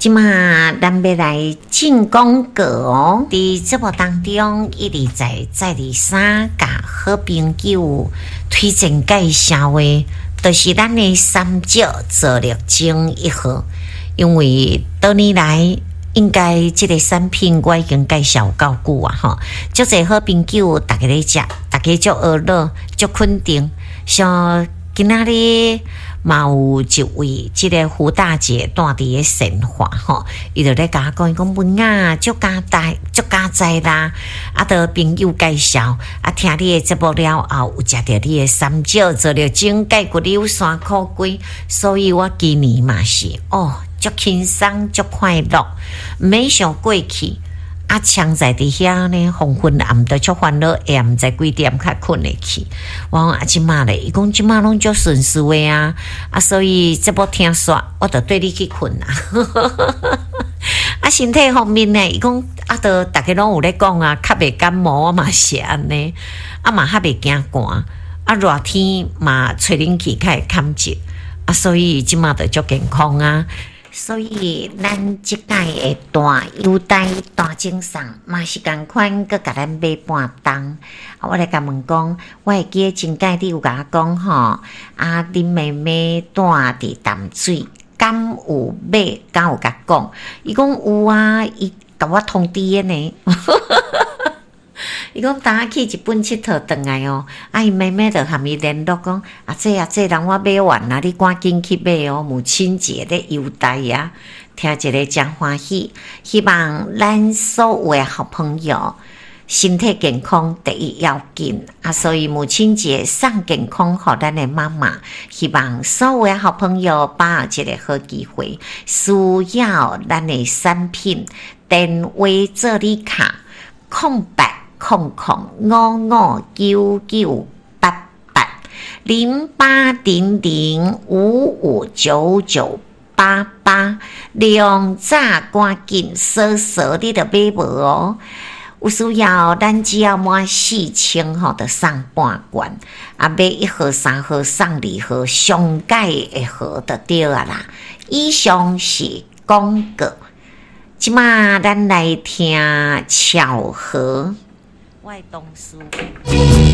這馬咱欲來進廣告哦。佇節目當中，一而再，再而三，共好朋友推薦介紹的，就是咱的三石皂綠精一號。因為多年來，應該這个產品我已經介紹夠久啊！吼，足濟好朋友逐家咧食，逐家足呵咾，足肯定。像今仔日嘛有一位這个胡大姐蹛佇咧善化吼，伊就咧共我講，伊講文仔足佳哉，足佳哉啦！啊，著朋友介紹，啊，聽你的節目了後，有食著你的三石皂綠精解骨瘤山苦瓜，所以我今年嘛是哦，足輕鬆，足快樂，毋免想過去。啊，徛在佇遐呢，黃昏暗都足煩惱，會毋知幾點較睏會去。我講啊，這馬咧，伊講這馬攏足順遂的啊，啊，所以節目聽煞，我就綴你去睏啊。啊，身體方面呢，伊講啊，都逐家攏有咧講啊，較袂感冒，我嘛是按呢，啊嘛較袂驚寒，啊熱天嘛吹冷氣較會坎熱，啊，所以這馬就足健康啊。所以，咱這擺的大優待大贈送嘛是仝款，閣共咱買半冬。啊，我來共問講，我會記得前擺你有共我講吼，啊，恁妹妹住佇淡水，敢有買？敢有共講？伊講有啊，伊共我通知的呢。伊講當仔去日本𨑨迌轉來哦，啊，伊妹妹就含伊聯絡講，阿姐阿姐，人我買完啊，你趕緊去買哦，母親節咧優待啊，聽一个誠歡喜，希望咱所有的好朋友身體健康第一要緊啊，所以母親節送健康予咱的媽媽，希望所有的好朋友把握這个好機會，需要咱的產品，電話做禮卡0800559988，0800559988，量早趕緊，掃掃你就買無哦。有需要，咱只要滿4000吼，就送半罐。啊，買一盒、三盒送二盒，上蓋的盒就對啊啦。以上是廣告。這馬咱來聽巧合。我的同事。